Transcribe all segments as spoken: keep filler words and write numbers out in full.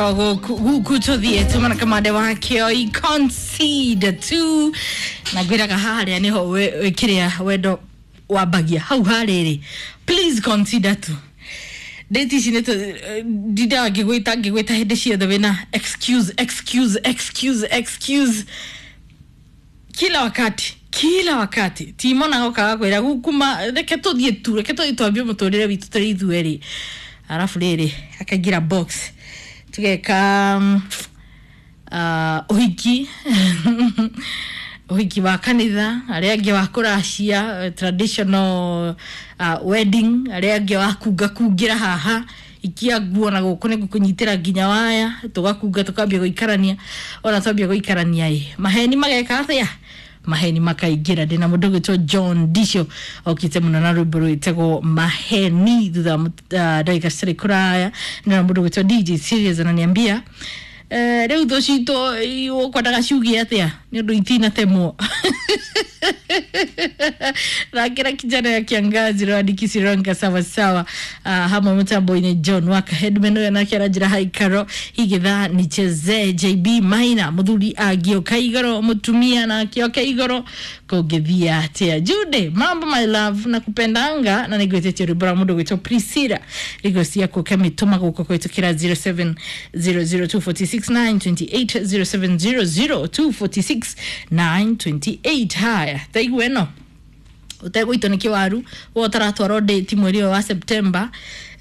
Guku tuthiä tumana kamande wakio i concede tu na ngwiraga haria niho kiria wendo wambagia hau hariri, please consider tu date ici nä ndindaga ngä ngä hä ndä ciothe wä excuse, excuse, excuse, excuse kila wakati, kila wakati. Timona gokaga kwä gukuma reke tå thiä tu, reke tå thiä twambie må tå rä re witå tå rä ithuerä, arabu rä rä akaingä ra box tugeka um, uh, uhiki uhiki wa kanitha, aria angi wa kuracia, traditional uh, wedding, aria angi wa kunga kungira haha ikia nguo na guku ni ngukunyitira nginya waya tugakunga tukambia guikarania ona twambia guikarania i maheni mageka atia, maheni makaingira. Ndina mundu gwitwo John Disho okite muno na rwimbo rwitagwo Maheni thutha uh, ndagika citarĩ kũraya. Ndina mundu gwitwo D J Serious ananiambia eh, rĩu thũ citũ ũkwendaga ciuge atĩa nĩ ũndũ itinatemwo. Rakira kijana ya kiangazi rwandikisironga sawasawa uh, hamwe mutambo-inĩ John Waka Headman ũyũ nake aranjĩra haikaro igitha nichezee J B Maina muthuri angĩũka igoro mutumia na akĩoka igoro kũngĩthiĩ atĩa. Jude mambo, my love, nakupendanga na nĩngwĩtĩtie rwĩmbo rwa mũndũ gwĩtwo Priscilla rigo ciaku kamĩtũma gũkũ kũhĩtũkĩra zero seven zero zero two four six nine two eight, zero seven zero zero two four six nine two eight. Haya, taigua ĩno utegũitwo nĩ kĩwaru wo ũtaratwarwo date mweri ũyũ wa September,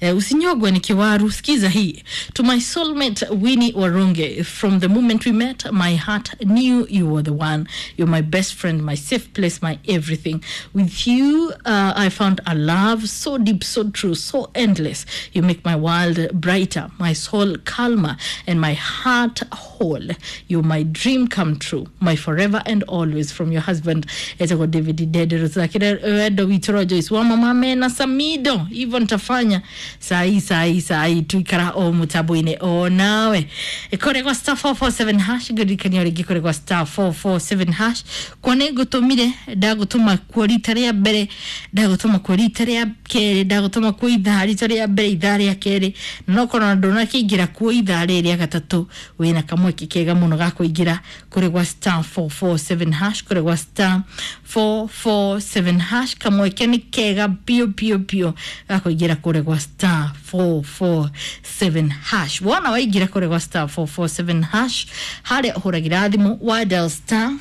eh, usinyogwe ni kiwaru. Sikiza hii: "To my soulmate Winnie Warunge, from the moment we met, my heart knew you were the one. You're my best friend, my safe place, my everything. With you uh, I found a love so deep, so true, so endless. You make my world brighter, my soul calmer, and my heart whole. You're my dream come true, my forever and always. From your husband," etagwo David Dedero. Thakire wendo witũ ro Joyce wa mama mena Samido hivyo ntafanya sai sai sai tuikara o mutambo-inĩ o nawe kũrĩ gwa star four four seven hash. Ngũririkania rĩngĩ kũrĩ gwa star four four seven hash kwa nĩ ngũtũmire, ndagũtũma kuo rita rĩa mbere, ndagũtũma kuo rita rĩa kerĩ, ndagũtũma kuo ithaa rita rĩa mbere, ithaa rĩa kerĩ, no korwo ndũnakĩingĩra kuo ithaa rĩrĩ rĩa gatatũ, wĩna kamweke kega mũno ga kũingĩra kũrĩ gwa star four four seven hash, kũrĩ gwa star four four seven hash. Kamweke nĩ kega biũ biũ biũ ga kũingĩra kũrĩ gwa star four four seven hash. Wona waingĩra kũrĩ gwa star four four seven hash harĩa ũhũragĩra thimũ wa dial star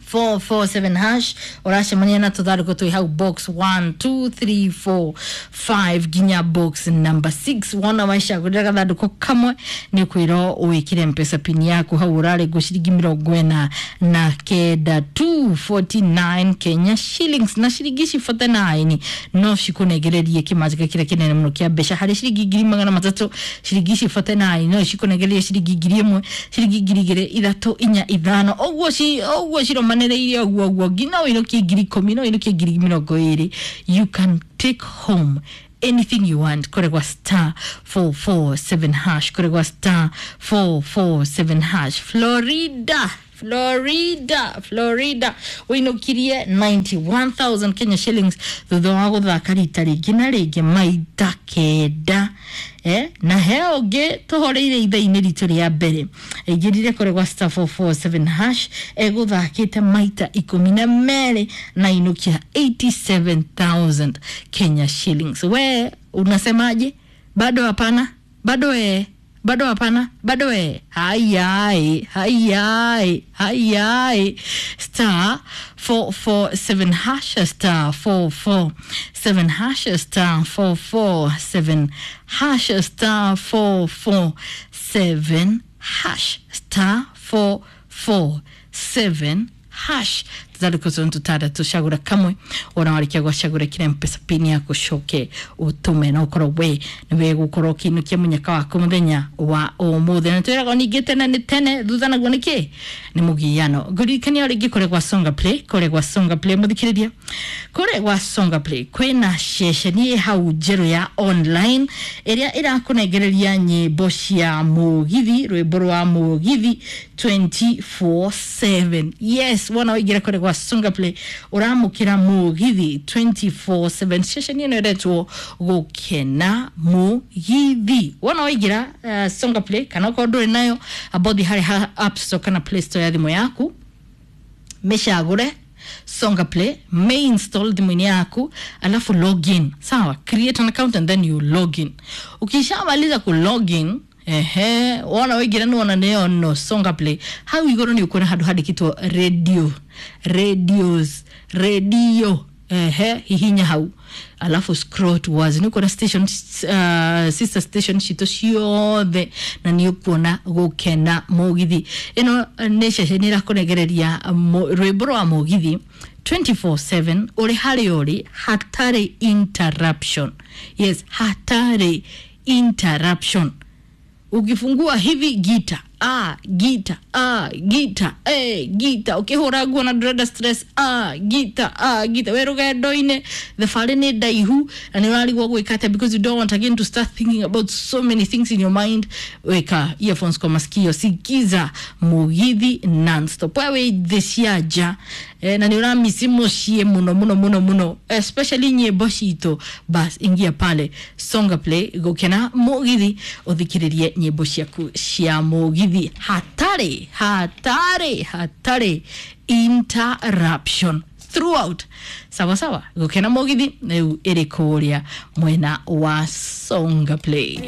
four four seven hash, ũracemania na tũthandũkũ twĩ hau box one two three four five nginya box number six. Wona wacagũrĩra gathandũkũ kamwe nĩ ũkwĩrwo wĩkĩre Mpesa pin yaku hau ũrarengwo ciringi mĩrongo ĩna na kenda, two forty-nine Kenya shillings, na ciringi ici forty-nine no cikũnengererie kĩmanjĩka kĩrĩa kĩnene mũno kĩa mbeca harĩ ciringi ngiri magana matatũ. Ciringi ici forty-nine no cikũnengererie ciringi ngiri ĩmwe, ciringi ngiri igĩrĩ, ithatũ, inya, ithano, ũguo ci ũguo ciromanĩrĩire ũguo ũguo nginya ũinũkie ngiri ikũmi, no ũinũkie ngiri mĩrongo ĩrĩ. You can take home anything you want kũrĩ gwa star four four seven hash, kũrĩ gwa star four four seven hash. Florida, Florida, Florida ũinũkirie ninety-one thousand Kenya shillings thutha wa gũthaka rita rĩngĩ na rĩngĩ maita kenda, eh? Na he ũngĩ tũhoreire ithaa-inĩ ritũ rĩa mbere aingĩrire kũrĩ gwa star four four seven hash egũthakĩte maita ikũmi na merĩ na inũkia eighty-seven thousand Kenya shillings. We unasemaje? Bado hapana, bado eh, bado hapana, bado eh. Hayai hayai hayai, star four four seven hash, star four four seven hash, star four four seven hash, star four four seven hash, star four four seven hash. Tũthandũkũ tũu tũtandatũ, cagũra kamwe. Wona warĩkia gwacagũra kĩra Mpesa pin yaku coke ũtũme na ũkorwo we nĩwe gũkorwo ũkĩinũkia mũnyaka waku mũthenya wa ũmũthĩ. Na twĩragwo ningĩ tene nĩ tene, thutha naguo nĩ kĩ nĩ mũgiano. Ngũririkania o rĩngĩ kũrĩ gwa Songa Play, kũrĩ gwa Songa Play, mũthikĩrĩria, kũrĩ gwa Songa Play kwĩna ceceni ĩ hau njerũ ya online ĩrĩa ĩrakũnengereria nyĩmbo cia mũgithi, rwĩmbo rwa mũgithi twenty-four seven. Yes, wona waingĩra kũrĩ gwa Gwa Songa Play ũramũkĩra mũgithi twenty-four seven. Ceceni ĩno ĩretwo Gũkena Mũgithi. Wona waingĩra uh, Songa Play, kana okorwo ndũrĩ nayo, abothi harĩ ha App Store kana Play Store ya thimũ yaku, mĩcagũre Songa Play, may install thimũ-inĩ yaku, alafu login. Sawa, create an account and then you login. Ukishamaliza ku login, ehe, wona waingĩra nĩ wona nĩyo no Songa Play hau igũrũ, nĩ ũkuona handũ handĩkĩtwo radio, radios, radio. Ehe, hihinya hau, alafu scroll towards, nĩ ũkuona station, uh, sister station citũ ciothe, na nĩ ũkuona Gũkena Mũgithi. Ĩno nĩ ceceni ĩrakũregereria rwĩmbo rwa mũgithi twenty-four seven, ũrĩ harĩa ũrĩ, hatarĩ interruption. Yes, hatarĩ interruption. Ukifungua hivi, gita, ah, gita, ah, gita, eh, gita. Ukihura nguo na ndũrenda stress, ah, gita, ah, gita. We rũgendo-inĩ, thabarĩ nĩ ndaihu na nĩ ũrarigwo gwĩka atĩa, because you don't want again to start thinking about so many things in your mind, weka earphones kwa masikio, sikiza mũgithi nonstop. We wĩ thĩ cia nja, eh, na nĩ ũramisi mũciĩ mũno mũno mũno mũno, especially nyĩmbo citũ, bas ingia pale Songa Play, Gũkena Mũgithi, ũthikĩrĩrie nyĩmbo ciaku cia mũgithi hatarĩ hatarĩ hatarĩ interruption throughout. Sawa sawa, Gũkena Mũgithi rĩu ĩrĩ kũrĩa mwena wa Songa Play.